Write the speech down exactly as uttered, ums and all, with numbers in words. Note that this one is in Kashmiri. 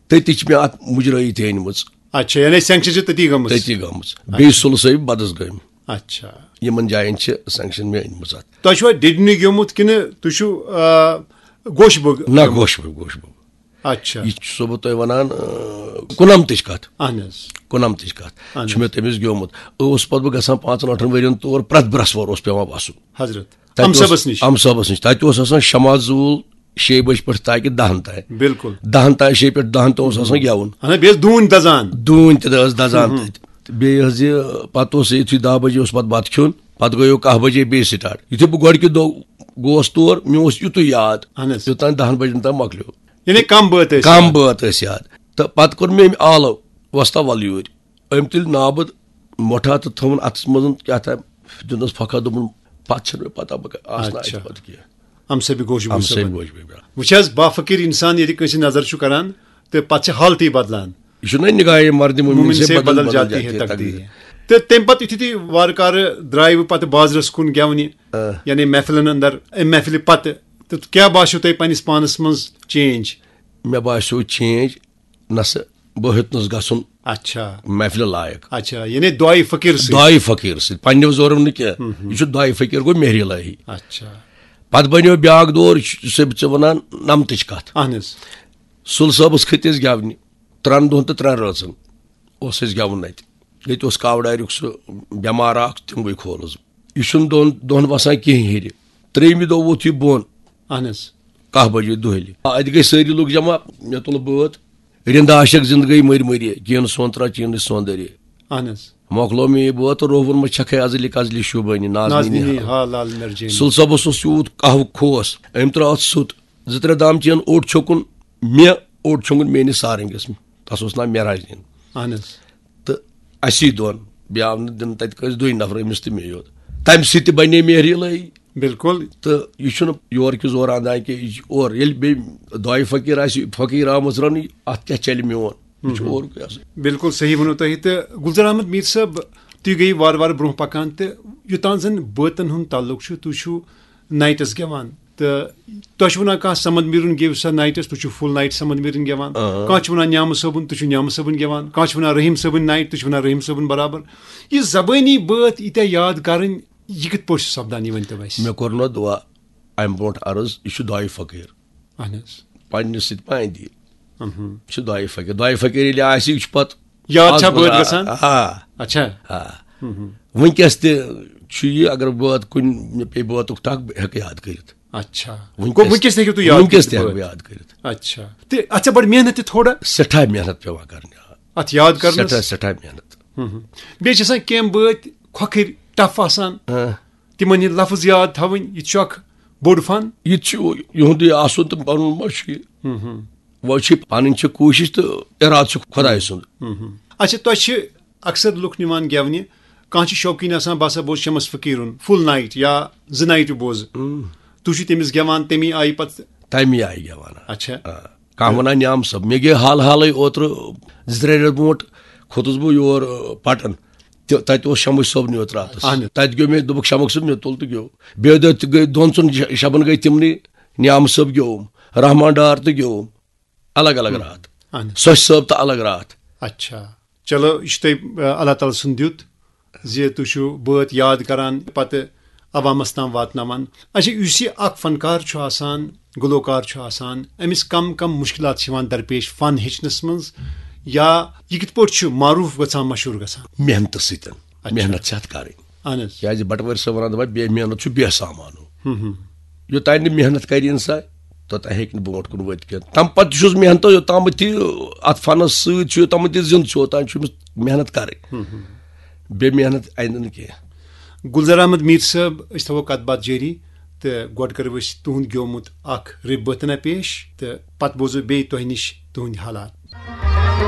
تٔتی چھِ مےٚ اَتھ مُجرٲیی تہِ أنمٕژ۔ اچھا، یعنی سینکشن چھِ تٔتی گٔمٕژ؟ تٔتی گٔمٕژ۔ بیٚیہِ سُلہٕ صٲب بدس گٔمۍ۔ اچھا۔ یِمن جاین چھِ سینکشن مےٚ أنمٕژ اَتھ۔ تۄہہِ چھُوا ڈِڈنہِ گیومُت کِنہٕ تُہۍ چھِو، آ، گوشہِ بوٚگ نہ، گیومُت؟ گوشہِ بوٚگ، گوشہِ بوٚگ۔ اچھا۔ یہِ چھُسو بہٕ تۄہہِ وَنان، آ، کُنَمتٕچ کَتھ۔ اہن حظ۔ کُنَمتٕچ کَتھ۔ اہن حظ۔ چھُ مےٚ تٔمِس گیومُت۔ اوس پَتہٕ بہٕ گژھان پانٛژَن ٲٹھَن ؤرِین تور، پرٛٮ۪تھ برٛٮ۪سوار اوس پٮ۪وان وَسُن۔ حضرت۔ تَتہِ اوس امہٕ صٲبَس نِش؟ امہٕ صٲبَس نِش۔ تَتہِ اوس آسان شےٚ مَس زوٗل شیٚیہِ بَجہِ پٮ۪ٹھ تاکہِ دَہَن تام۔ بِلکُل۔ دَہَن تام، شیٚیہِ پٮ۪ٹھ دَہَن تام اوس آسان گٮ۪وُن۔ اہن حظ، بیٚیہِ ٲس ڈوٗنۍ دَزان۔ ڈوٗنۍ تہِ ٲس دَزان تَتہِ۔ بیٚیہِ حظ یہِ، پَتہٕ اوس یِتھُے دَہ بَجے اوس پَتہٕ بَتہٕ کھیوٚن، پَتہٕ گٔیو کَہہ بَجے بیٚیہِ سٹارٹ۔ یُتھُے بہٕ گۄڈٕکہِ دۄہ گوس تور، مےٚ اوس یُتُے یاد، اہن حظ۔ یوٚتام دَہَن بَجَن تام مۄکلیو۔ یعنی کَم بٲتھ ٲسۍ کَم یاد۔ بٲتھ ٲسۍ یاد۔ تہٕ پَتہٕ کوٚر مےٚ أمۍ آلو، وۄستا وَلہٕ یوٗرۍ۔ أمۍ تُلۍ نابہٕ مۄٹھا تہٕ تھوٚوُن اَتھَس منٛز کیٛاہ تام، دیُتنَس پھۄکھا، دوٚپُن، "پَتہٕ چھَنہٕ مےٚ پَتہ بہٕ کَتھ آسہٕ نہٕ اَتہِ اچھا۔ پَتہٕ کینٛہہ۔" اَمہٕ سۭتۍ گوٚو شُبہٕ اَمہٕ سۭتۍ صٲبَن۔ گوٚو شُبہٕ۔ وٕچھ حظ، بافقیٖر اِنسان ییٚلہِ کٲنٛسہِ نظر چھُ کَران تہٕ پَتہٕ چھِ حالتٕے بدلان۔ یہِ چھُنہ نگاہِ مردِ مومن مومن سے سے بدل بدل بدل جاتی جاتی ہے ہے تقدیر۔ تقدیر۔ تہٕ تَمہِ پَتہٕ یُتھُے تُہۍ وارٕ کارٕ درٛایوٕ پَتہٕ بازرَس کُن گٮ۪ونہِ، آ۔ یعنی محفلَن اندر، اَمہِ محفلہِ پَتہٕ، تہٕ کیٛاہ باسیو تۄہہِ پنٛنِس پانَس منٛز چینج؟ مےٚ باسیو چینج، نہ سا بہٕ ہیوٚتنَس گژھُن اچھا۔ محفلہِ لایق۔ اچھا، یعنی دعایہِ فقیٖر سۭتۍ۔ دعایہِ فقیٖر سۭتۍ، پنٛنیو زورو نہٕ کینٛہہ۔ ہُم ہُم۔ یہِ چھُ دعایہِ فقیٖر گوٚو مہری الہی۔ اچھا۔ پَتہٕ بنیو بیٛاکھ دور، یہِ چھُ، ژےٚ، ژےٚ وَنان نَمتٕچ کَتھ۔ اہن حظ۔ سُل صٲبَس کھٔتۍ أسۍ گٮ۪ونہِ۔ ترٛٮ۪ن دۄہَن تہٕ ترٛٮ۪ن رٲژَن اوس اَسہِ گٮ۪وُن اَتہِ۔ ییٚتہِ اوس کاوٕ ڈایریُک سُہ بٮ۪مار اَکھ، تِموٕے کھولُس بہٕ۔ یہِ چھُنہٕ دۄن دۄہَن وَسان کِہیٖنۍ ہیٚرِ۔ ترٛیٚیِمہِ دۄہ ووت یہِ بۄن۔ اہن حظ۔ کَہہ بَجے دۄہلہِ۔ اَتہِ گٔے سٲری لُکھ جمع، مےٚ تُل بٲتھ۔ رِنٛدٕ عاشق زِنٛدٕ گٔے مٔرۍ مٔرۍ، کِہیٖنۍ سونترا، چیٖنٕچ سونٛدٕرے۔ اہن حظ۔ مۄکلو مےٚ یہِ بٲتھ تہٕ رووُن مےٚ چھَکھَے ازلہِ کزلہِ شوٗبٲنی، نازنیٖنی نازنیٖنی ہا۔ ہا لال مرجٲنی۔ سُل صٲبَس اوس یوٗت قہوٕ کھوس، أمۍ ترٛٲو اَتھ سُت۔ زٕ ترٛےٚ دام چیٚن اوٚڑ چھوٚکُن مےٚ، اوٚڑ چھوٚکُن میٛٲنِس سارنٛگَس۔ تَس اوس ناو معراج دیٖن۔ اہن حظ۔ تہٕ اَسی دۄن، بیٚیہِ آو نہٕ دِنہٕ تَتہِ کٲنٛسہِ، دۄیہِ نفرٕ، أمِس تہٕ مے یوت۔ تَمہِ سۭتۍ تہِ بَنے مہری الٲہی۔ بِلکُل۔ تہٕ یہِ چھُنہٕ یورٕ کِس اورٕ اَندان کینٛہہ، یہِ چھُ اورٕ۔ ییٚلہِ بیٚیہِ دۄیہِ فقیٖر آسہِ، فقیٖر آمٕژ رَنٕنۍ، اَتھ کیٛاہ چَلہِ میون؟ یہِ چھُ اورُکُے آسان۔ بِلکُل صحیح ووٚنوٕ تۄہہِ۔ تہٕ گُلزار احمد میٖر صٲب، تُہۍ گٔیِو وارٕ وارٕ برٛونٛہہ پَکان تہٕ یوٚتام زَن بٲتَن ہُنٛد تعلُق چھُ، تُہۍ چھِو نایٹَس گٮ۪وان۔ تہٕ تۄہہِ چھُ وَنان کانٛہہ سَمَد میٖرُن گیٚو سا نایٹَس، تُہۍ چھِو فُل نایٹ سَمَد میٖرُن گٮ۪وان۔ آ۔ کانٛہہ چھُ وَنان نیامہٕ صٲبُن، تُہۍ چھِو نیامہٕ صٲبُن گٮ۪وان۔ کانٛہہ چھُ وَنان رحیٖم صٲبٕنۍ نایٹ، تُہۍ چھِو وَنان رحیٖم صٲبُن برابر۔ یہِ زبٲنی بٲتھ ییٖتیٛاہ یاد کَرٕنۍ، یہِ کِتھ پٲٹھۍ چھُ سپدان، یہِ ؤنۍ تو اَسہِ؟ مےٚ کوٚر نہ دُعا اَمہِ برونٛٹھ عرض، یہِ چھُ دۄیہِ فقیٖر۔ اہن حظ۔ پننہِ سۭتۍ پانہٕ دِیہِ۔ اہم۔ یہِ چھُ دۄیہِ فقیٖر۔ دۄیہِ فقیٖر ییٚلہِ آسہِ، یہِ چھُ پتہٕ یاد چھا آز بٲتھ منٛز گژھان؟ آ۔ اچھا۔ آ۔ اہم۔ وٕنکیٚس تہِ چھُ یہِ، اگر بٲتھ کُنہِ مےٚ پیٚیہِ بٲتُک ٹکھ، بہٕ ہٮ۪کہٕ یاد کٔرِتھ۔ اچھا۔ وٕنکیٚس گوٚو وٕنکیٚس تہِ ہیٚکِو تُہۍ یاد وٕنکیٚس کٔرِتھ تہِ ہٮ۪کہٕ بہٕ بٲتھ؟ یاد کٔرِتھ۔ اچھا۔ تہٕ اَتھ چھا بڑٕ محنت تہِ تھوڑا؟ سٮ۪ٹھاہ محنت پٮ۪وان کرنہِ۔ اَتھ یاد کرنس؟ سٮ۪ٹھاہ، سٮ۪ٹھاہ محنت۔ اہم۔ بیٚیہِ چھِ آسان کینٛہہ بٲتۍ کھۄکھٕرۍ، ٹف آسان۔ آ۔ تِمن ہِنٛدۍ لفظ یاد تھاوٕنۍ، یہِ تہِ چھُ اکھ بوٚڑ فن۔ یہِ تہِ چھُ یِہُنٛدُے آسُن تہٕ پنُن ما چھُ یہِ؟ ہم، ہم۔ وۄنۍ چھِ پنٕنۍ چھِ کوٗشِش تہٕ اِرادٕ چھُ خۄداے سُنٛد۔ ہم، ہم۔ اچھا، تۄہہِ چھِ اکثر لُکھ نِوان گٮ۪ونہِ، کانٛہہ چھُ شوقیٖن آسان، بہٕ ہسا بوزٕ شمس فقیٖرُن فُل نایٹ یا زٕ نایٹہٕ بوزٕ۔ ہم۔ تُہۍ چھِو تٔمِس گٮ۪وان تَمی آیہِ پتہٕ؟ تَمی آیہِ گٮ۪وان۔ اچھا۔ آ۔ کانٛہہ وَنان نیام صٲب، مےٚ گٔے حال حالٕے اوترٕ زٕ ترٛےٚ رٮ۪تھ برونٛٹھ کھوٚتُس بہٕ یور، آ، پٹن۔ تہِ، تَتہِ اوس شمس صٲبنٕے یوت راتَس۔ اہن حظ۔ تَتہِ گیوٚو مےٚ، دوٚپُکھ، "شمس صٲب، مےٚ تُل تہٕ گیوٚو۔" بیٚیہِ دۄہ تہِ گٔے، دۄن ژۄن ش-، شبن گٔے تِمنٕے، نیام صٲب گیوٚوُم، رحمان ڈار تہٕ گیوٚوُم۔ الگ الگ ہم۔ راتھ۔ اہن حظ۔ سۄچھ صٲب تہٕ الگ راتھ۔ اچھا۔ چلو، یہِ چھُ تۄہہِ، آ، اللہ تعالیٰ سُنٛد دیُت زِ تُہۍ چھِو بٲتھ یاد کران، پتہٕ عوامس تام واتناوان۔ اچھا، یُس یہِ اکھ فنکار چھُ آسان، گلوکار چھُ آسان، أمِس کم کم مُشکِلات چھِ یِوان درپیش فن ہیٚچھنس منٛز، یا یہِ کِتھ پٲٹھۍ چھُ معروٗف گژھان، مشہوٗر گژھان؟ محنتہٕ سۭتۍ۔ اچھا۔ محنت چھِ اتھ کرٕنۍ۔ اہن حظ۔ کیازِ بٹہٕ وٲرۍ صٲب ونان دپان، "بے محنت چھُ بے سامانو۔" ہم ہم۔ یوٚتانۍ نہٕ محنت کرِ انسان، توٚتانۍ ہیٚکہِ نہٕ برونٛٹھ کُن وٲتِتھ کینٛہہ۔ تمہِ پتہٕ تہِ چھُس محنت، یوٚتام تہِ اتھ فنس سۭتۍ چھُ، یوٚتام تہِ زِندٕ چھُ، اوٚتام چھُ أمِس محنت کرٕنۍ۔ ہم ہم۔ بے محنت آیندٕ نہٕ کینٛہہ۔ گُلزار احمد میٖر صٲب، أسۍ تھاوو کتھ باتھ جٲری تہٕ گۄڈٕ کرو أسۍ تُہُنٛد گیومُت اکھ رِب بٲتنا پیش تہٕ پتہٕ بوزو بیٚیہِ تۄہہِ نِش تُہٕنٛدۍ حالات۔